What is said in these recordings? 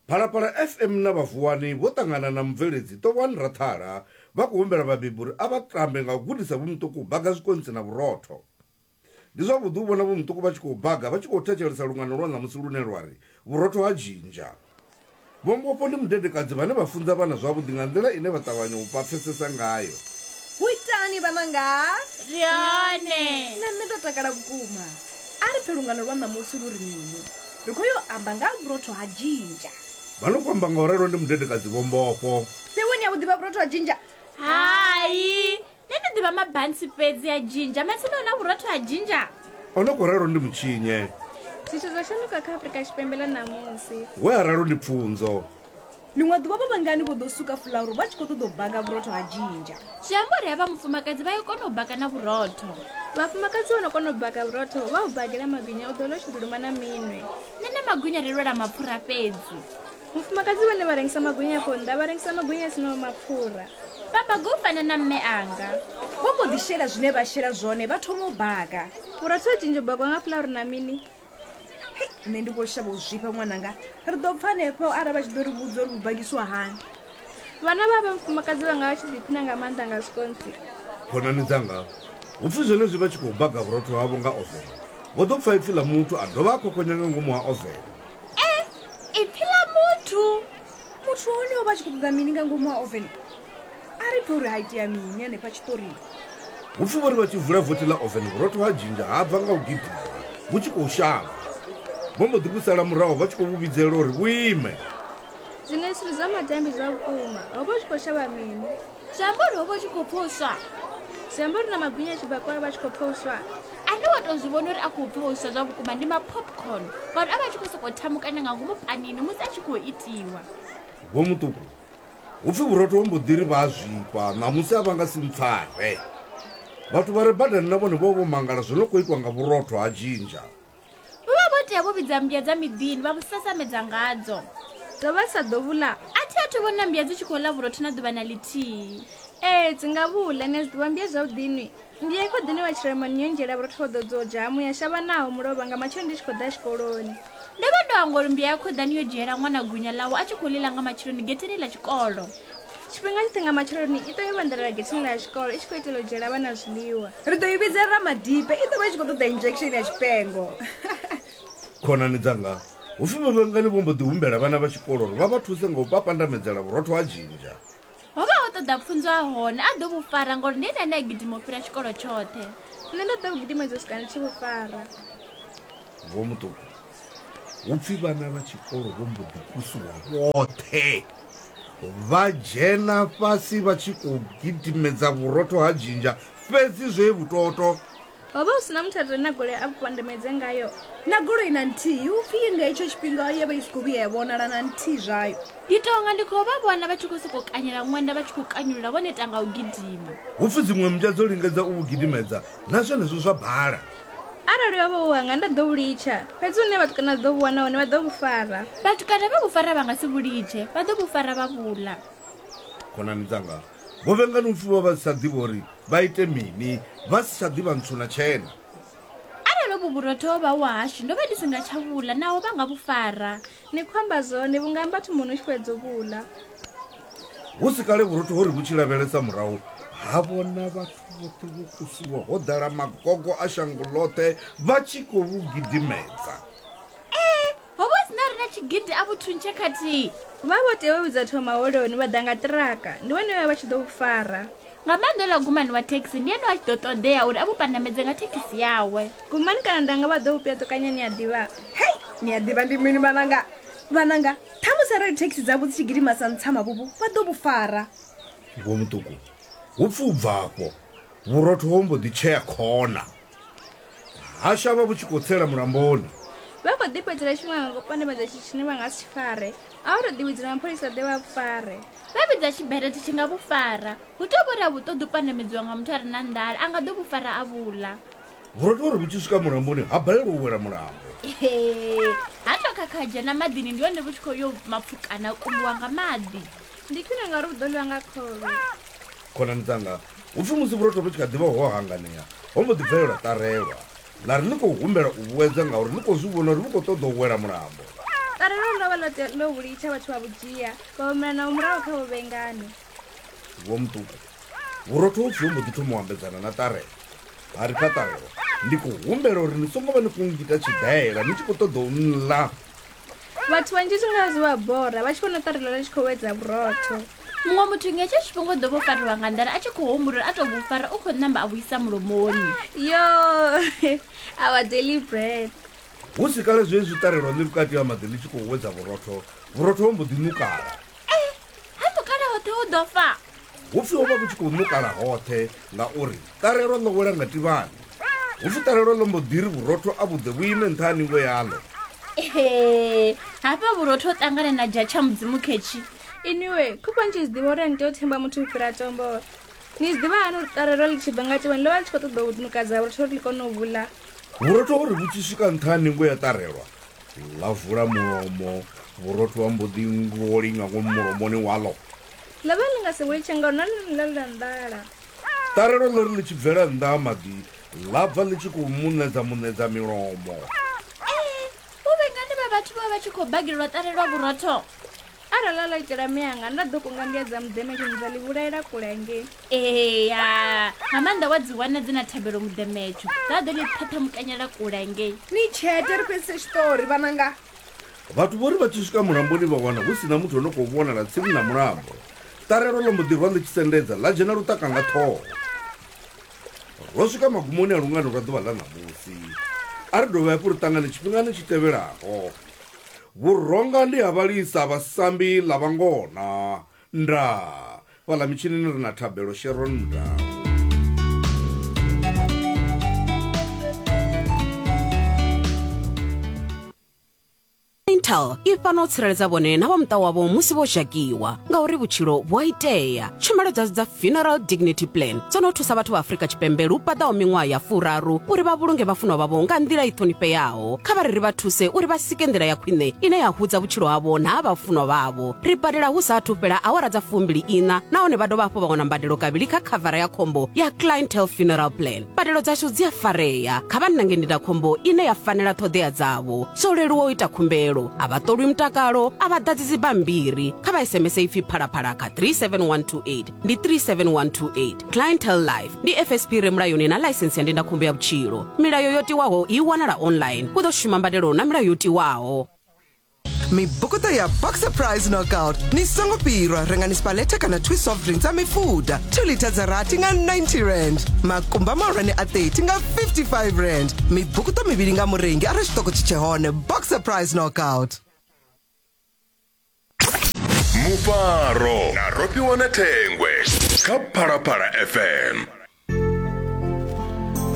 Phalaphala FM na vha Vuwani vho ṱangana na mubveledzi Ṱovhoani Rathala vha khou humbela vhabebi uri a vha tambe nga u gudisa Vho Muṱuku u baga zwikontsi na vhurotho. Ndi zwavhuḓi u vhona Vho Muṱuku vha tshi khou baga vha tshi khou thetshelesa lungano lwa ṋamusi lune lwa ri, Vhurotho ha Dzhinzha. Vho Mbofho ndi mudedekadzi vhane vha funza vhana zwavhuḓi nga nḓila ine vha ṱavhanya u vha pfesesa ngayo. Hu itani vhananga? Ri hone. Na nṋe ndo takala vhukuma. A ri pfe lungano lwa ṋamusi lu ri mini. Ri khou yo amba nga ha vhurotho ha dzhinzha. Vha no khou amba nga u ralo ndi mudedekadzi Vho Mbofho. Fhewe ni a vhu ḓivha vhurotho ha dzhinzha? Hai, nṋe ndi ḓivha mabantsi fhedzi a dzhinzha, matsina hu na vhurotho ha dzhinzha? O no khou ralo ndi Mutshinye. Zwithu zwo shanduka kha Afrika Tshipembe ḽa ṋamusi. We a ralo ndi Pfunzo. Ḽiṅwe ḓuvha vho vhangani vho ḓo suka fulauru vha tshi khou ṱoḓa u baga vhurotho ha dzhinzha. Zwi amba uri havha mufumakadzi vha ya kona u baka na vhurotho. Vhafumakadzi vho no kona u baka vhurotho vha u bagela magwinya u ḓo ḽa u tshi ḓiluma na minwe. Nṋe na magwinya ri lwela mapfura fhedzi. Mufumakadzi vhane vha rengisa magwinya afho nnḓa vha rengisa magwinya a sinaho mapfura. Vha baga u fana na mme anga. Vho mbo ḓi shela zwine vha shela zwone vha thoma u baga. Vhurotho ha dzhinzha u bakwa nga fulauru na mini? Hei, nṋe ndi khou shavha u zwifha ṅwananga. Ri ḓo pfa hanefho arali vha tshi ḓo ri vhudza uri vhu bagisiwa hani. Vhana vha vha mufumakadzi vhanga vha tshi ḓiphina nga maanḓa nga zwikontsi. Khonani dzanga, hu pfi zwenezwi vha tshi khou baga vhurotho havho nga ovene, vho ḓo pfa ipfi ḽa muthu a dovha a khokhonya nga ngomu ha ovene. E, ipfi ḽa muthu! Muthu wa hone o vha a tshi khou ṱoḓa mini nga ngomu ha ovene? A ri pfe uri ha itea mini hanefha tshiṱorini. Hu pfi vho ri vha tshi vula vothi ḽa ovene vhurotho ha dzhinzha ha bva nga u gidima vhu tshi khou shavha. Vho mbo ḓi vhu sala murahu vha tshi khou vhu vhidzelela uri vhu ime. Zwiṅwe zwithu zwa madambi zwa vhukuma. Ho vha hu tshi khou shavha mini? Zwi amba uri ho vha hu tshi khou pfa u swa. Zwi amba uri na magwinya a tshi bakwa a vha a tshi khou pfa u swa. Ane wa tou zwi vhona uri a khou pfa u swa zwa vhukuma ndi ma-popcorn ngauri a vha a tshi khou sokou thamukana nga ngomu panini musi a tshi khou itiwa. Vho Muṱuku, Hu pfi vhurotho ho mbo ḓi ri vha a zwifha, ṋamusi a vha nga si mpfare. Vhathu vha re badani na vhone vho vha vho mangala zwo no khou itwa nga vhurotho ha dzhinzha. Vho vha vho tea vho vhidza mmbya dza miḓini vha vhu sasamedza ngadzo. Dzo vha sa ḓo vhu ḽa. A thi athu vhona mmbya dzi tshi khou ḽa vhurotho na ḓuvha na ḽithihi. Ee, dzi nga vhu ḽa. Ni a zwi ḓivha mmbya zwavhuḓi inwi. Mmbya i khoḓani wa tshiremani yo ndzhiela vhurotho ho ḓodzwaho dzhamu ya shavha naho mulovha nga matsheloni ndi tshi khou ḓa tshikoloni. Ndo vha ndo hangwa uri mmbya ya khoḓani yo dzhiela ṅwana gunya ḽawe a tshi khou ḽi ḽa nga matsheloni getheni ḽa tshikolo. Tshifhinga tshoṱhe nga matsheloni i ṱwa yo vhanḓelela getheni ḽa tshikolo i tshi khou itela u dzhiela vhana zwiḽiwa. Ri ḓo i vhidza Ramadipe, i ḓo vha i tshi khou ṱoḓa injection ya tshipengo. Khonani dzanga, hu pfi vhavhangani vho mbo ḓi humbela vhana vha tshikolo uri vha vha thuse nga u papandamedzela vhurotho ha dzhinzha. Ho vha ho ṱoḓa pfunzo a hone a ḓo vhu fara ngauri ndi ene ane a gidima u fhira tshikolo tshoṱhe. Nṋe ndo ḓo vhu gidimedza u swika ndi tshi vhu fara. Vho Muṱuku, hu pfi vhana vha tshikolo vho mbo ḓi kusuwa vhoṱhe vha dzhena fhasi vha tshi khou gidimedza vhurotho ha dzhinzha fhedzi zwe vhutoto. Ho vha hu si na muthu a re na goloi a vhu pandamedze ngayo. Na goloi na nthihi, hu pfi nga hetsho tshifhinga yo vha i si khou vhuya ya vhonala na nthihi zwayo. Ndi tou nga ndi khou vha vhona vha tshi khou sokou kanyela ṅwenda vha tshi khou kanyulula vho neta nga u gidima. Hu pfi dziṅwe mmbwa dzo lingedza u vhu gidimedza, na zwenezwo zwa bala. Arali ho vha hu hanga nda ḓo vhu litsha, fhedzi hune vhatukana vha ḓo vhu wana hone vha ḓo vhu fara. Vhatukana vha vhu fara vha nga si vhu litshe, vha ḓo vhu fara vha vhu ḽa. Khonani dzanga, vho vhengani u pfi vho vha vha si tsha ḓivha uri vha ite mini, vha si tsha ḓivha ntswu na tshena. Arali uvhu vhurotho ho vha hu hashu, ndo vha ndi si nga tsha vhu ḽa, naho vha nga vhu fara. Ni khou amba zwone, vhu nga amba thumbuni u tshi fhedza u vhu ḽa. Hu si kale vhurotho ho ri vhu tshi lavhelesa murahu, ha vhona vhathu vhoṱhe vho kusiwa, ho ḓala magogo a shango ḽoṱhe vha tshi khou vhu gidimedza. Ee, ho vha hu si na a re na tshigidi a vhu thuntshe khathihi. Vha vho tea u vhidza thoma holoni vha ḓa nga ṱiraka, ndi vhone vhe vha vha tshi ḓo vhu fara. Nga maanḓa uḽa Gumani wa thekhisi ndi ene a tshi ḓo ṱoḓea uri a vhu pandamedze nga thekhisi yawe. Gumani kana Ndanga vha ḓo vhu pyaṱukanya ni a ḓivha? Hei, ni a ḓivha ndi mini vhananga? Vhananga, ṱhamusi arali thekhisi dzavho dzi tshi gidima sa ntsamavhuvhu vha ḓo vhu fara. Vho Muṱuku, hu pfi u bva afho, vhurotho ho mbo ḓi tshea khona. Ha shavha vhu tshi khou tsela mulamboni. Vha khou ḓifhedzela tshifhinga nga u pandamedza tshithu tshine vha nga si tshi fare. A hu tou ḓivhidzela mapholisa ḓe vha vhu fare. Vha vhidza tshiberethe tshi nga vhu fara. Hu tou vha uri a vhu ṱoḓi u pandamedziwa nga muthu a re na nḓala, a nga ḓo vhu fara a vhu ḽa. Vhurotho uri vhu tshi swika mulamboni ha balelwa u wela mulambo. Hee, ha tou khakha ha dzhena maḓini ndi hone vhu tshi khou yo mapfukana a kumbiwa nga maḓi. Ndi khwine ngauri vhu ḓo ḽiwa nga khovhe. Khonani dzanga, hu pfi musi vhurotho vhu tshi kha ḓi vha ho hanganea, ho mbo ḓi bvelela ṱarelwa. Ḽa ri ḽi khou humbela u vhuedza ngauri ḽi khou zwi vhona uri vhu khou ṱoḓa u wela mulambo. Ṱarelwa ḽo vha ḽo tea ḽo vhu litsha vhathu vha vhu dzhia, vha humela naho murahu kha Vho-Vhengani. Vho-Muṱuku, vhurotho ho pfi ho mbo ḓi thoma u ambedzana na Ṱarelwa. Ha ri kha Ṱarelwa, Ndi khou humbela uri ni songo vha ni khou nngita tshiḓaela ni tshi khou ṱoḓa u nḽa. Vhathu vhanzhi zwi nga zwi vha bora vha tshi vhona Ṱarelwa ḽi tshi khou wedza vhurotho. Muṅwe muthu nga hetsho tshifhinga u ḓo vha o fariwa nga nḓala a tshi khou humbula uri a tou vhu fara u khou ṋamba a vhu isa mulomoni. Yo, our daily bread. Hu si kale zwezwi ṱarelwa ḽi vhukati ha maḓi ḽi tshi khou wedza vhurotho, vhurotho ho mbo ḓi ṋukala. Eh, ha ṋukala hoṱhe hu ḓo fa. Hu pfi ho vha vhu tshi khou ṋukala hoṱhe ngauri ṱarelwa ḽo wela nga tivhani. Hu pfi ṱarelwa ḽo mbo ḓi ri vhurotho a vhu ḓe vhu ime nṱha ha ningo yaḽo. Ehe, hafha vhurotho ho ṱangana na dzha tsha Mudzimu khetshi. Inwiwe, khofha ni tshi zwi ḓivha uri a ni tea u themba muthu u fhira tombo. Ni zwi ḓivha hani uri ṱarelwa ḽi tshi bva nga tivhani ḽo vha ḽi tshi khou ṱoḓa u ṋukadza vhurotho uri ḽi kone u vhu ḽa? Vhurotho ho ri vhu tshi swika nṱha ha ningo ya ṱarelwa, ḽa vula mulomo, vhurotho ha mbo ḓi ngoli nga ngomu mulomoni waḽo. Ḽo vha ḽi nga si vhu litshe ngauri na ḽone ḽo ḽa nḓala. Ṱarelwa ḽo ri ḽi tshi bvela nnḓa ha maḓi, ḽa bva ḽi tshi khou muṋedza muṋedza milomo. Ee, vho vhengani vha vhathu vho vha vha tshi khou bagelwa ṱarelwa vhurotho? Arali ḽa ḽo itela mme anga, nda ḓo kunga ndia dza muḓemetsho dza ḽi vhulaela kule hangei. Ea, nga maanḓa wa dzi wana dzi na thabelo muḓemetsho, dza ḓo ḽi ṱhaṱhamukanyela kule hangei. Ni tshete ri fhedzise tshiṱori vhananga. Vhathu vho ri vha tshi swika mulamboni vha wana hu si na muthu o no khou vhonala tsini na mulambo. Ṱarelwa ḽo mbo ḓi rwa ḽi tshi sendedza ḽa dzhena luṱaka nga ṱhoho. Ro swika magumoni a lungano lwa ḓuvha ḽa ṋamusi. A ri dovhe hafhu ri ṱangane tshifhingani tshi tevhelaho. Vhuronga ndi ha vhalisa vha sambi ḽa vhangona. Ndaa. Fhaḽa mitshinini ri na Thabelo Sharon Mudau. Intel i fhano u tsireledza vhone na vha muṱa wavho musi vho zhakiwa ngauri vhutshilo vhu a itea. Tshumelo dzashu dza Funeral Dignity Plan dzo no thusa vhathu vha Afrika Tshipembe lu paḓaho miṅwaha ya furaru uri vha vhulunge vhafunwa vhavho nga nḓila i ṱhonifheaho. Kha vha ri ri vha thuse uri vha sike nḓila ya khwine ine ya hudza vhutshilo havho na ha vhafunwa vhavho. Ri badela hu sa athu fhela awara dza fumbili iṋa nahone vha dovha hafhu vha wana mbadelo kavhili kha khavara ya khombo ya Clientele Funeral Plan. Mbadelo dzashu dzi a farea. Kha vha nange ndindakhombo ine ya fanela ṱhoḓea dzavho. Zwo leluwa u ita khumbelo. A vha ṱolwi mutakalo, a vha ḓadzi dzibammbiri. Kha vha SMS ipfi Phalaphala kha 37128. Ndi 37128. Clientele Life ndi FSP re mulayoni na ḽaisensi ya ndindakhombo ya vhutshilo. Milayo yo tiwaho i wanala online. Hu ḓo shuma mbadelo na milayo yo tiwaho. Mibukuṱo ya Boxer Prize Knockout. Ni songo fhirwa, rengani Spaleta kana Twist soft drink dza mifuda 2 litha dza rathi nga 90 rand, makumba mahulwane a 30 nga 55 rand, mibukuṱo mivhili nga murengi arali tshiṱoko tshi tshe hone. Boxer Prize Knockout. Mufaro na Rofhiwa na Thengwe kha Phalaphala FM.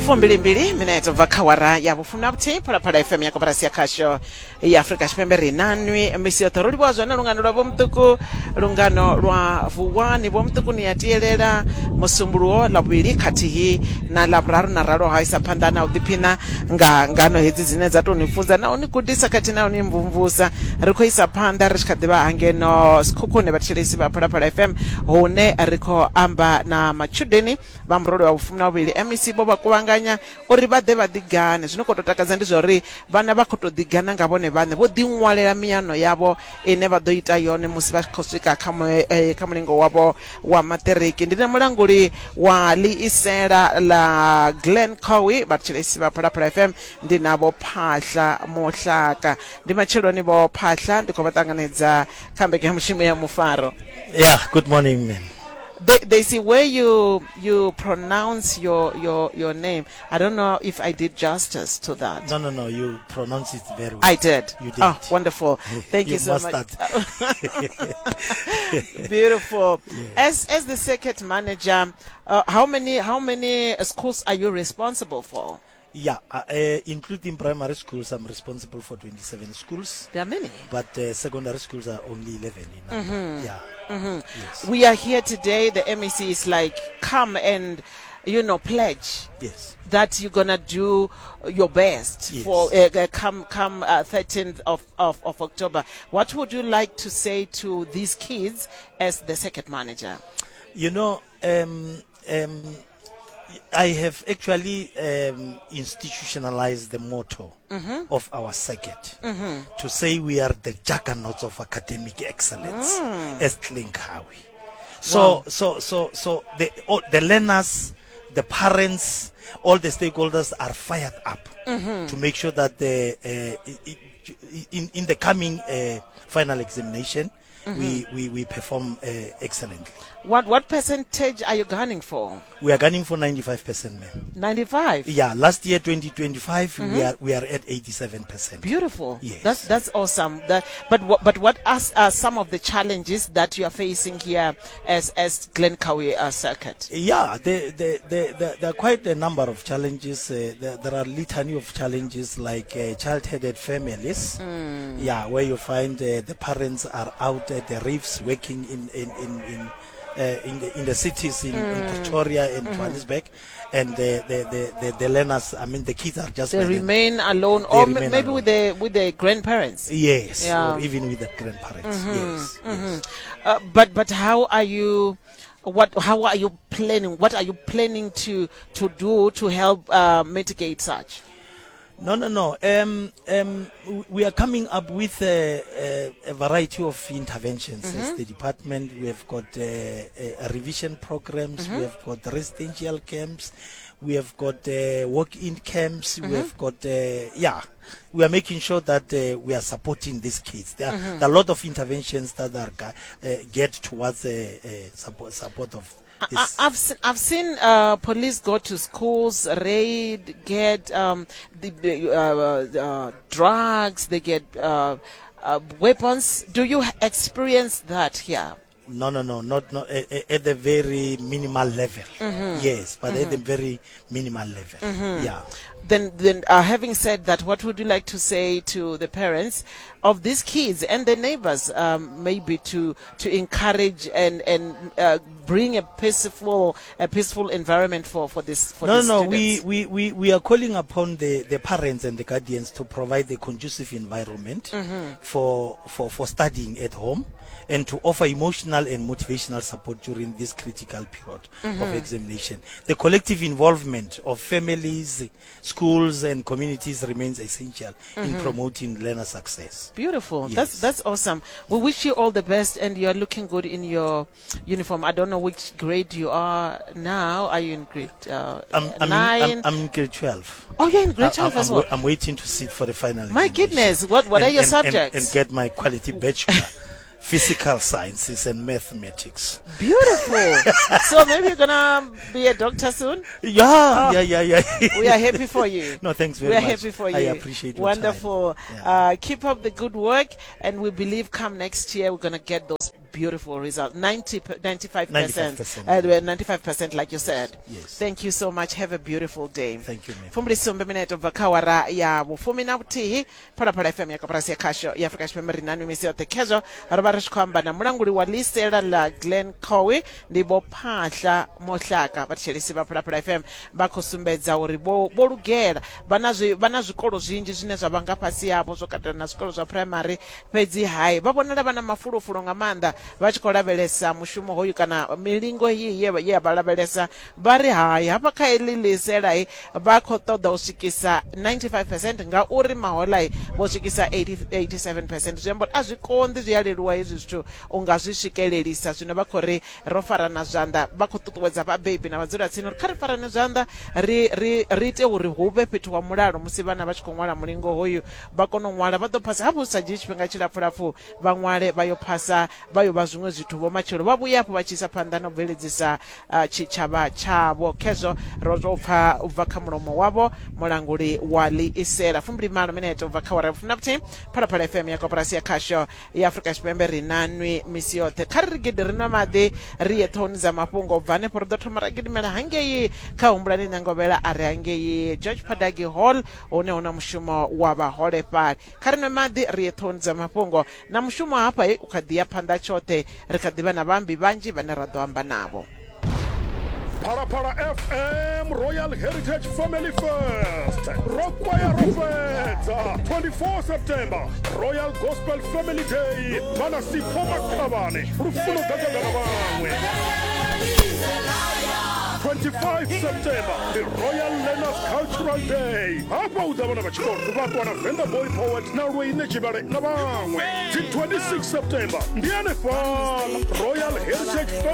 Fumbilimbili minete bva kha wara ya vhufumi na vhuthihi Phalaphala FM ya koporasi ya khasho ya Afrika Tshipembe. Ri nanwi misi yoṱhe, ro livhuwa zwone lungano lwa Vhomuṱuku, lungano lwa Vuwani. Vhomuṱuku ni ya tielela Musumbuluwo, Ḽavhuvhili khathihi na Ḽavhuraru, na ralo ha isa phanḓa na u ḓiphina nga ngano hedzi dzine dza tou ni funza na u ni gudisa khathihi na u ni mvumvusa. Ri khou isa phanḓa ri tshi kha ḓivha hangeno Sekhukhune, vhathetshelesi vha Phalaphala FM, hune ri khou amba na matshudeni vha murole wa vhufumi na vhuvhili. MEC vho vha kuvhanganya uri vha ḓe vha ḓigane. Zwino khou tou takadza ndi zwa uri vhana vha khou tou ḓigana nga vhone vhaṋe, vho ḓiṅwalela miano yavho ine vha ḓo ita yone musi vha tshi khou swika kha kha mulingo wavho wa maṱiriki. Ndi na mulanguli wa ḽiisela ḽa Glen Cowie, vhathetshelesi vha Phalaphala FM, ndi na Vho Phahla Mohlaka. Ndi matsheloni Vho Phahla, ndi khou vha ṱanganedza kha mbekanyamushumo ya Mufaro. Yeah, good morning, ma'am. They see where you pronounce your name. I don't know if I did justice to that. No, no, no. You pronounce it very well. I did. You did. Oh, wonderful. Thank you, You so much. mastered. Beautiful. Yeah. As the circuit manager, how many schools are you responsible for? Yeah, including primary schools, I'm responsible for 27 schools. There are many. But secondary schools are only 11 in number. Yeah. Yes. We are here today. The MEC is like, come and pledge. Yes. That you're going to do your best Yes. for come 13th of October. What would you like to say to these kids as the circuit manager? You know, I have actually um, institutionalized the motto Mhm. of our circuit Mhm. to say we are the juggernauts of academic excellence Mm. as Glen Cowie. So, Wow. so, so, so the, all, the learners, the parents, all the stakeholders are fired up Mhm. to make sure that the, uh, in, in the coming uh, final examination, we, Mhm. we, we perform uh, excellently. What what percentage are you gunning for? We are gunning for 95%, ma'am. 95. Yeah, last year 2025, we Mhm. are we are at 87%. Beautiful. Yes. That's that's awesome. That, but what but what are, are some of the challenges that you are facing here as as Glen Cowie uh, circuit? Yeah, there, there, there, there, there are quite a number of challenges. Uh, there, there are litany of challenges like uh, child-headed families. Mm. Yeah, where you find uh, the parents are out at the reefs working in in in, in uh, in the in the cities in, in Mm. Pretoria and Mhm. Johannesburg, and the the, the, the the learners, I mean the kids are just They by them. remain alone, They or remain maybe alone. with the with the grandparents. Yes, Yeah. or even with the grandparents. Mhm, Yes, mhm. yes. Uh, but but how are you? What how are you planning? What are you planning to to do to help uh, mitigate such? No, no, no. Um, um, we are coming up with a, a, a variety of interventions as Mhm. the department. We have got uh, uh, revision programs, Mhm. we have got residential camps, we have got uh, walk-in camps, we Mhm. have got, uh, yeah, we are making sure that uh, we are supporting these kids. There, are, Mhm. there are a lot of interventions that are uh, geared towards uh, uh, support, support of I, I've seen, I've seen uh, police go to schools, raid, get um, the, the uh, uh, drugs, they get uh, uh, weapons. Do you experience that here? No, no, no, not, not at the very minimal level. Mhm. Yes, but at the Mhm. very minimal level. Mhm. Yeah. Then, then uh, having said that, what would you like to say to the parents of these kids and their neighbors, um, maybe to to encourage and and uh, bring a peaceful a peaceful environment for for this for No, these no, we, students? we, we, we are calling upon the, the parents and the guardians to provide a conducive environment Mhm. for, for, for studying at home and to offer emotional and motivational support during this critical period of Mhm. examination. The collective involvement of families, schools, and communities remains essential in Mhm. promoting learner success. Beautiful. Yes. That's that's awesome. We wish you all the best, and you're looking good in your uniform. I don't know which grade you are now. Are you in grade uh, I'm, I'm, in, nine? I'm, I'm in grade 12. Oh, you're in grade I- 12 I'm, as well. I'm waiting to sit for the final. My examination. goodness, what what And- are your and- subjects? And, and get my quality bachelor, physical sciences and mathematics. Beautiful. so maybe you're gonna be a doctor soon. Yeah, Oh. yeah, yeah, yeah. We are happy for you. No, thanks very We are much. happy for you. I appreciate your time. Wonderful. Uh, keep up the good work, and we believe come next year we're gonna get those beautiful results. 90, 95%. 95%. Uh, 95%, like you said. Yes. Thank you so much. Have a beautiful day. Thank you, ma'am. Fumbilisumbe minete ubva kha awara ya vhufumi na vhuthihi phalaphala fm ya koporasi ya khasho ya afrika tshipembe ri nani misi yoṱhe khezwo ro vha ri tshi khou amba na mulanguli wa ḽiisela ḽa glen cowe ndi vho phahla mohlaka vhathetshelesi vha phalaphala fm vha khou sumbedza uri vho vho lugela vha na zwi vha na zwikolo zwinzhi zwine zwa vha nga fhasi havho zwo katela na zwikolo zwa phuraimari fhedzi hai vha vhonala vha na mafulufulu nga maanḓa vha tshi khou lavhelesa mushumo hoyu kana milingo heyi ye ye ya vha lavhelesa vha ri hai hafha kha heḽi ḽiiselai vha khou ṱoḓa u swikisa 95 percent ngauri maholai vho swikisa 80, 87 percent zwi amba uri a zwi konḓi zwi a leluwa hezwi zwithu u nga zwi swikelelisa zwino vha khou ri ro farana zwanḓa vha khou ṱuṱuwedza vhabebi na vhadzulatsini uri kha ri farane zwanḓa ri ri ri ite uri hu vhe fhethu wa mulalo musi vhana vha tshi khou ṅwala mulingo hoyu vha kone u ṅwala vha ḓo phasa hafhu hu sa dzhii tshifhinga tshilapfulapfu vha ṅwale vha yo phasa vha yo vha zwiṅwe zwithu vho matshelo vha vhuye hafhu vha tshi isa phanḓa na u bveledzisa uh, tshitshavha tshavho khezwo ro tou pfa u bva kha mulomo wavho mulanguli wa ḽiisela fumbilimalo minete u bva kha wara vhufumi na vhuthihi phalaphala fm ya koporasi ya khasho ya afrika tshipembe ri na nwi misi yoṱhe kha ri ri gidi ri nwa maḓi ri ye ṱhohoni dza mafhungo u bva hanefho ri ḓo thoma ra gidimela hangei kha humbulani ṋangovhela a re hangei george padagi hall hune hu na mushumo wa vhaholefhali kha ri nwe maḓi ri ye ṱhohoni dza mafhungo na mushumo hafha u kha ḓi ya phanḓa tshoṱhe ri kha ḓi vha na vhaambi vhanzhi vhane ra ḓo amba navho Phalaphala FM Royal Heritage Family Fest ro kwaya ro fhedza 24 September Royal Gospel Family Day vha na Sipho Makhavhane lufuno ḓadza na vhaṅwe. 25 September ndi Royal Learners Cultural Day. Hafha hu ḓa vhana vha tshikolo vha ṱwa na Venda Boy Poet na Lweine Tshivhale na vhaṅwe. Dzi 26 September ndi hanefhaḽa Royal Heritage.